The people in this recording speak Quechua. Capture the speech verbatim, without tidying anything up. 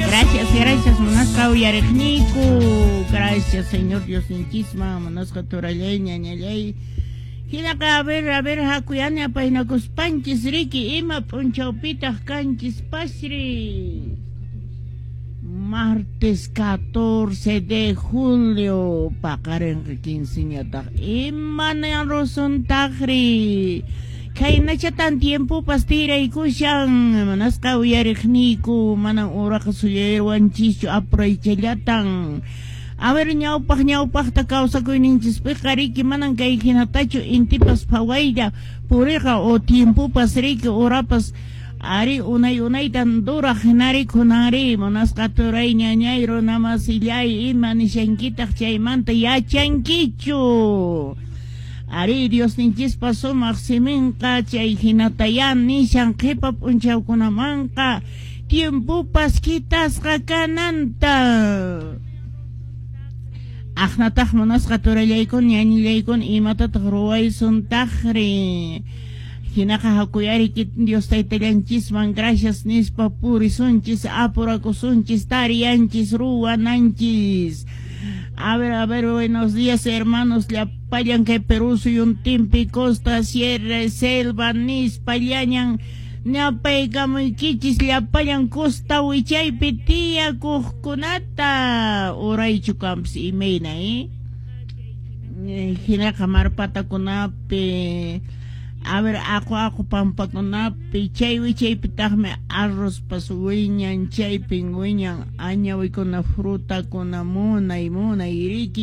Gracias, gracias, munasqa uyariqniyku. Gracias, Señor Diosninchisman, munasqa turallay, ñañallay. Hinaqa, a ver, a ver, hakuyani apaynakuspanchis riki, ima p'unchawpitaq kanchis pasri. Martes catorce de julio, paqarinqa quinceñataq. Imanan rusuntaqri? Khaynachatan tiempopas tiraykushan, munasqa uyariqniyku, manan uraqa suyaywanchischu apuraychallatan. A ver, ñawpaq ñawpaqta kawsakuyninchispiqa riki manan kay hinatachu intipas phawaylla puriqa o tiempopas riki urapas ari unay unaytan duraq hinari kunanri munasqa turay ñañay runamasillay ima nishankitaq chaymanta yachankichu. Ari Diosninchispa sumaq siminqa chay hinataya nishan qhipa p'unchawkunamanqa tiempopas kitasqa kananta. Aqnataq munasqa turallaykun ñañillaykun imatataq ruwaysuntaqri. Hinaqa hakuyari Dios taytallanchisman gracias nispa purisunchis apurakusunchis tariyanchis ruwananchis. A ver, a ver, buenos días, hermanos. Llapallan kay Perú suyuntinpi costa, sierra, selva, nispa llañan ñapaykamuykichis llapallan costa wichaypi tiyakuqkunata uraychu kanpis imayna, eh? Hinaqa marpatakunapi, a ver, aqu aqu pampakunapi, chay wichaypitaqmi arrozpas wiñan, chaypin wiñan añawikuna frutakuna munay munay riki.